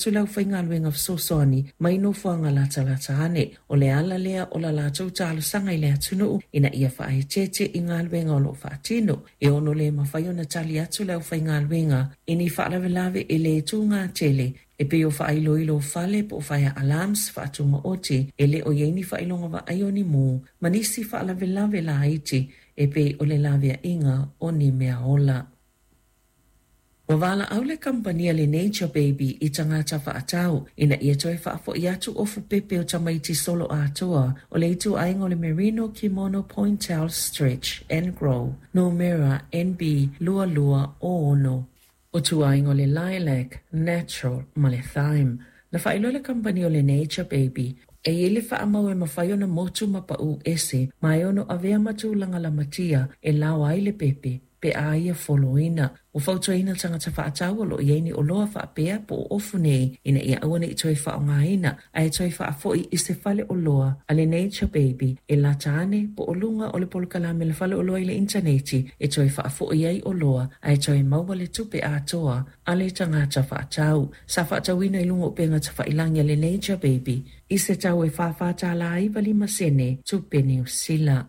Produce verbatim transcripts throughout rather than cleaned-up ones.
atu le aufaigaluega fesoasoani mai nofoaga latalata ane. O le ala lea o la latou talosaga i le atunuu ina ia faaeteete i galuega o loo faatino. E ono le mafai ona tali atu le aufaigaluega i ni faalavelave e le tuga tele e pei o faailoilo fale po o fire alarms faatumaoti e le o i ai ni faailoga vaai o ni mū ma nisi faalavelave laiti e pei o le laveaiga o ni mea ola. Ua valaau le kampani le Nature Baby i tagata faatau ina ia toe faafoi atu ofu pepe o tamaiti solo atoa o le ituaiga o le Merino Kimono Pointelle Stretch and Grow numera N B lua lua o ono. O ituaiga o le Lilac, Natural ma le Thyme. Na faailoa le kampani o le Nature Baby e i ai le faamau e mafai ona motu ma pau ese ma e ono avea ma tulaga lamatia e laoa ai le pepe pe a ia foloina. Ua fautuaina tagata faatau o loo i ai ni oloa faapea po o ofu nei ina ia aua nei toe faaaogaina ae toe faafoi i se fale oloa a le Nature Baby e lata ane po o luga o le polokalame le fale oloa i le initaneti e toe faafoi ai oloa ae toe maua le tupe atoa a le tagata faatau. Sa faatauina i luga o upega tafailagi a le Nature Baby i se tau e fa fa tala iva lima sene tupe Niu Sila.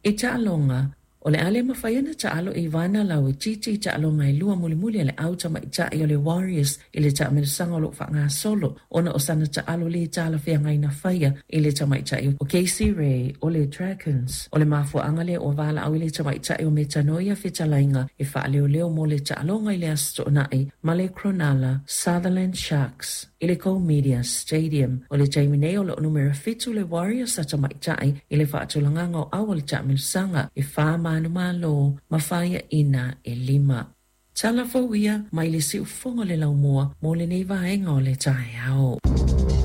I taaloga, o le a le mafai ona taalo Ivana Lauititi i taaloga e lua mulimuli a le au tamaitai o le Warriors i le taamilosaga o loo faagasolo ona o sana taalo le talafeagai na faia i le tamaitai o Casey Ray o le Dragons. O le mafuaaga lea ua valaau i le tamaitai o Metanoia Fetalaiga e faaleoleo mo le taaloga i le Aso Toonai ma le Cronulla Sutherland Sharks i le Go Media Stadium. O le taimi nei o loo numera fitu le Warriors a tamaitai i le faatulagaga o au o le taamilosaga e fa manumalo ma faiaina e lima. Tala fou ia mai le siufogo le laumua mo lenei vaega o le taeao.